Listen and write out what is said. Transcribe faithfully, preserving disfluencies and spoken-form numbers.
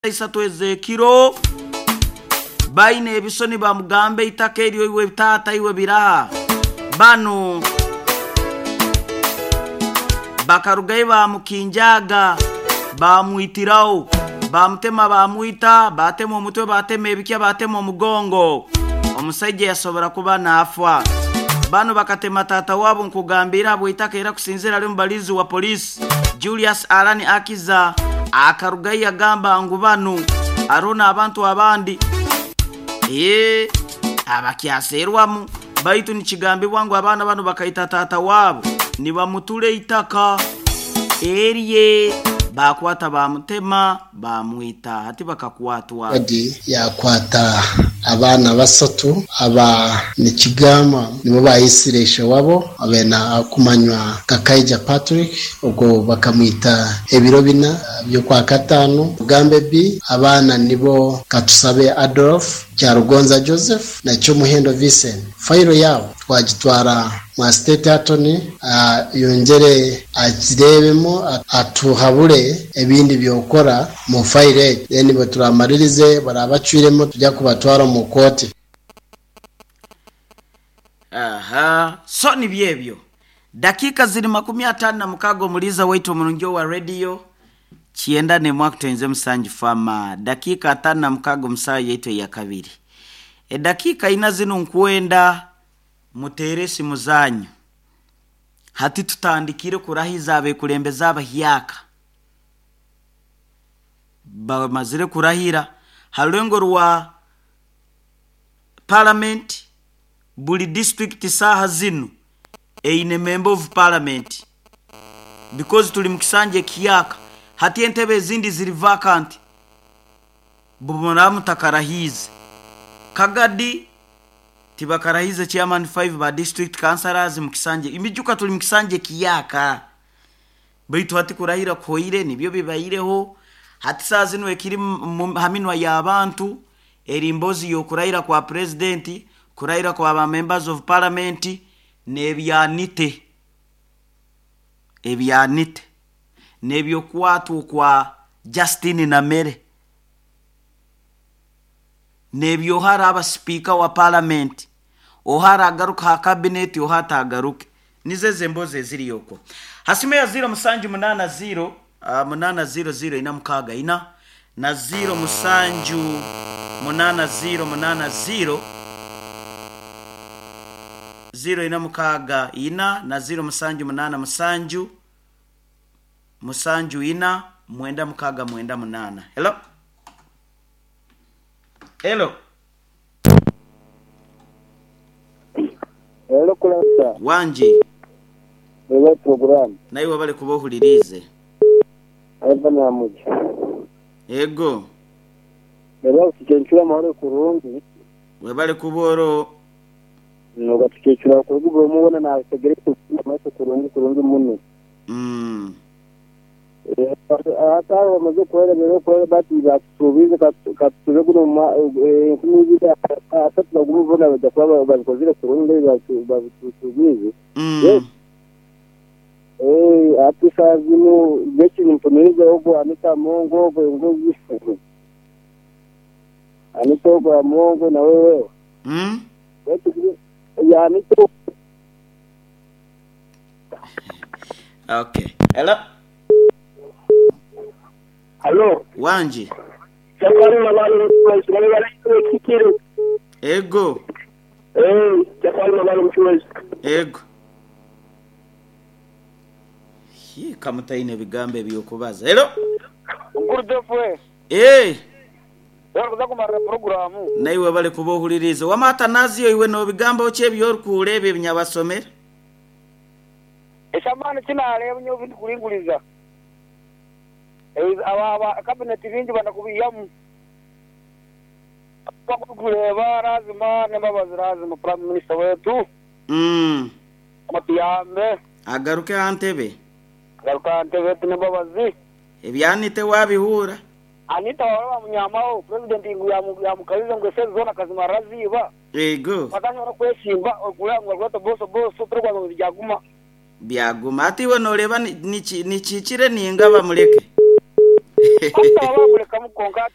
Isatu ezekiro baine ebisoni bamugambe itaka eryo iwe taata iwe biraha bano bakarugayo bamukinjaga bamwitiraho bamutema bamwita batema omutwe batema ebikya batema omugongo omusajja yasobora kuba nafa. Bano bakatema tata wabo nkugambira bwitaka era kusinzira ali mubalizi wa polisi Julius Alani Akiza akarugayo yagamba ngu bano arona abantu abandi ee abakyaserwamu baitu nikigambibwa ngu abaana bano bakaita tata wabo nibamutule itaka erye bakwata bamutema bamwita hati bakakwatwa. Adi yakwata abaana basatu aba nikigamba nibo bayisireshe wabo abena kumanywa Kakaija Patrick ubwo bakamwita ebiro bina byo kwa katano Gambe B abaana nibo Katusabe Adolf Kyarugonza Joseph na Cyomuhendo Vincent. Failo yabo twagitwara mwa state attorney uh, yongere akirebemo atuhabure ebindi byokora mu file then baturamaririze barabacwiremo tujya kubatwara mu koti. Aha, so ni byebyo dakika ziri makumi atano na mukago muliza waitu omurungi wa radio kienda ne mwakutenze musanju fama dakika atano na mukago musaha yaitu ya kabiri e dakika ina zino nkwenda mutere esimu zanyu hati tutandikire kurahiza abekulembeze abahyaka bamazire kurahira harurengo rwa parliament buli district saha zino eine member of parliament because tuli mukisanje kiyaka hati entebe ezindi ziri vacant bumuramu takarahize Kagadi tibakarahize chairman five ba district councillors mukisanje imijuka tuli mukisanje kiyaka baitu hati kurahira koire nibyo bibaireho hati saa zino ekiri haminwa y'abantu erimbozi yokurahira kwa president kurahira kwa ba members of parliament nebyanite ebyanite nebyokwatwa kwa Justin Namere nebyohara aba speaker wa parliament ohara agaruka ha cabinet ohata agaruke nizeze mboze eziriyoko hasime ya zero musanju munana zero uh, munana zero zero ina mukaga ina na zero musanju munana zero munana zero zero ina mukaga ina na zero musanju munana musanju musanju ina mwenda mukaga mwenda munana. Hello, hello. Hello kulasa wanje wewe program naiwe bali kubohulirize eva namuja ego lero tukenchura mahoro kurungi webale kuboro noga tukenchura kurugo mubona na tegere kumaso kurungi kurungi muno mm ata bamaze kuhera rero kuhera bati batubize katube kuno nkumizi atatu bagumubona bajya kuba babikozire kurungi babitubize mm eh ati sazino beki nimponerize ogo Anita Mongo ogo ngozi Anita ogo Mongo na wewe mm beki ya Anita. Okay, hello. Hello. Wanje. Chakari mabalo mchwezi kikiro. Ego. Eh, chakari mabalo mchwezi. Ego. Hi kamutaine bigambe byokubaza. Hello. Ngurudefwe. Eh. Yakuza kumara programu. Naiwe bali kubohuliriza. Wamata naziyo iwe no bigambo oche byorkulebe ebinyabasomera. Eshamani kinale ebinyo bikulinguliza. Aba aba cabinet bingi banakubiyamu bakuleba lazima nembabazi lazima prime minister wetu mm amatiyambe agaruke antebe agaruka antebe nembabazi ebyanite wabihura Anita waba munyamao president ngu yamukaliza ngo seze zona kazima raziba ego batashobora kweshimba okulangwa rwato boso boso turwa ngo byaguma byaguma ati we noreba nichikire ninga bamureke. Bamulekamu konka ati.